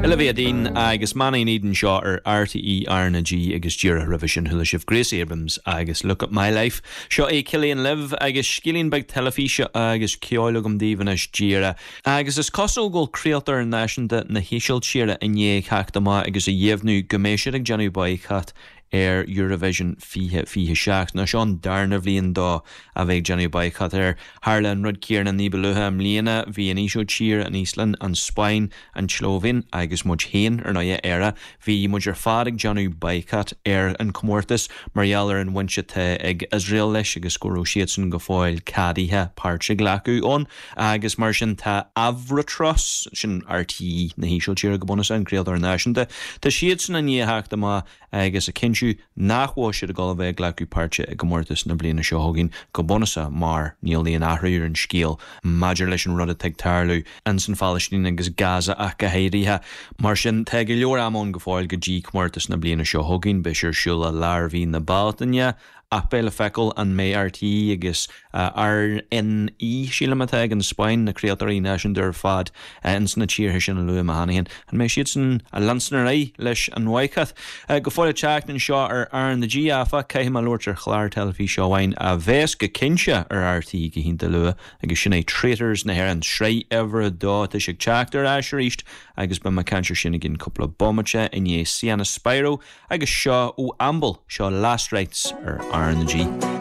Olivia Dean agus Man I Need anseo ar RTÉ RnaG agus díreach roimhe sin chuala sibh Gracie Abrams agus Look at My Life. Seo é Cillian libh agus scéilín beag teilifíse agus ceoil agam daoibh anois díreach. Agus is cosúil go bhfuil craoltóir náisiúnta na hÍsiltíre i ndiaidh theacht amach agus a dheimhniú go mbeidh siad ag déanamh baghcat ar Eurovision 2027. Now seo an darna bhliain dó a bheith ag déanamh baghcat air. Tharla an rud céanna ní ba luaithe i mbliana. Bhí an Ísiltír, an Íoslainn, an Spáinn, an tSlóivéin agus muid féin, ar ndóighe, Éire, bhí muid ar fad ag déanamh baghcat ar an chomórtas mar gheall ar an bhaint atá ag Iosrael leis agus go raibh siadsan go fóill ceadaithe páirt a ghlacadh ann. Agus mar sin tá Avrotros, sin RTÉ na hÍsiltíre go bunúsach, an craoltóir náisiúnta, tá siadsan i ndiaidh theacht amach agus a chinntiú nach bhfuil siad ag dul a bheith ag glacadh páirte i gcomórtas na bliana seo chugainn, go bunúsach mar níl aon athrú ar an scéal maidir leis an rud atá ag tarlú ins an Phalaistín agus Gaza ach go háirithe. Mar sin, tá go leor ama ann go fóill go dtí comórtas na bliana seo chugainn, beidh sé ar siúl i lár mhí na Bealtaine. Ach beidh le feiceáil an mbeidh RTÉ agus RNE, sílim atá ag an Spáinn, na craoltóirí náisiúnta ar fad ins na tíortha sin a luaigh mé cheana féin, an mbeidh siadsan ag leanstan ar aghaidh leis an bhaghcat? Go fóill ag teacht anseo ar RnaG, áfach, caithfidh mé labhairt ar chlár teilifíse amháin a bheas go cinnte ar RTÉ go hiontach luath agus sin é Traitors na hÉireann, sraith uimhir a dó. Tá sé ag teacht ar ais arís agus beidh mé ag caint ar sin i gcionn cúpla bomaite i ndiaidh Sienna Spiro Agus seo ó Amble, seo Last Rites ar RnaG.